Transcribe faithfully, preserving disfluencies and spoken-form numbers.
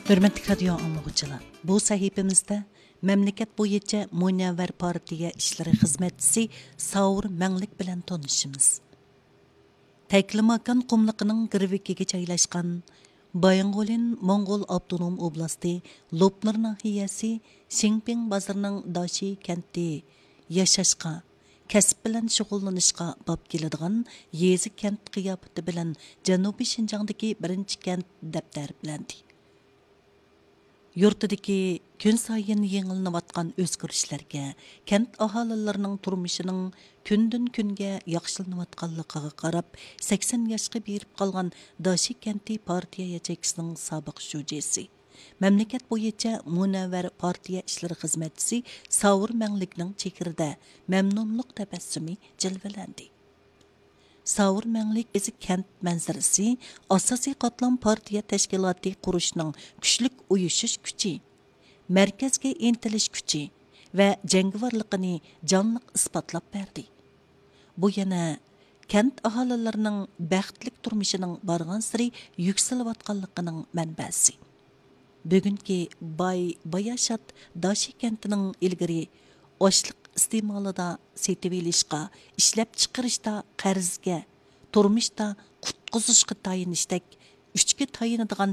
ھۆرمەتلىك رادىيو ئاڭلىغۇچىلار، بۇ سەھىپىمىزدە مەملىكەت بويىچە مۇنەۋۋەر پارتىيە ئىشلىرى خىزمەتچىسى ساۋۇر مەڭلىك بىلەن تونۇشىمىز. تەكلىماكان قۇملۇقىنىڭ گىرۋىكىگە جايلاشقان بايىنغولىن موڭغۇل ئاپتونوم ئوبلاستى لوپنۇر ناھىيەسى شىڭپىڭ بازىرىنىڭ داشى كەنتى ياشاشقا، كەسىپ بىلەن شۇغۇللىنىشقا باب كېلىدىغان يېزا، كەنت قىياپىتى بىلەن جەنۇبىي شىنجاڭدىكى بىرىنچى كەنت دەپ تەرىپلەندى. يۇرتىدىكى كۈنسايىن يېڭىلىنىۋاتقان ئۆزگىرىشلەرگە، كەنت ئاھالىلىرىنىڭ تۇرمۇشىنىڭ كۈندىن كۈنگە ياخشىلىنىۋاتقانلىقىغا قاراپ، سەكسەن ياشقا بېرىپ قالغان داشى كەنتى پارتىيە ياچېيكىسىنىڭ سابىق شۇجىسى، مەملىكەت بويىچە مۇنەۋۋەر پارتىيە ئىشلىرى خىزمەتچىسى ساۋۇر مەڭلىكنىڭ چېھرىدە مەمنۇنلۇق تەبەسسۇمى جىلۋىلەندى. ساۋۇر مەڭلىك ئۆزى كەنت مەنزىرىسى، ئاساسىي قاتلام پارتىيە تەشكىلاتى قۇرۇشنىڭ كۈچلۈك ئۇيۇشۇش كۈچى، مەركەزگە ئىنتىلىش كۈچى ۋە جەڭگىۋارلىقىنى جانلىق ئىسپاتلاپ بەردى. بۇ يەنە كەنت ئاھالىلىرىنىڭ بەختلىك تۇرمۇشىنىڭ بارغانسېرى يۈكسىلىۋاتقانلىقىنىڭ مەنبەسى. بۈگۈنكى باي باياشات داشى كەنتىنىڭ ئىلگىرى ئاشلىق ئىستېمالىدا، سېتىۋېلىشقا، ئىشلەپچىقىرىشتا قەرزگە، تۇرمۇشتا قۇتقۇزۇشقا تايىنىشتەك ئۈچكە تايىنىدىغان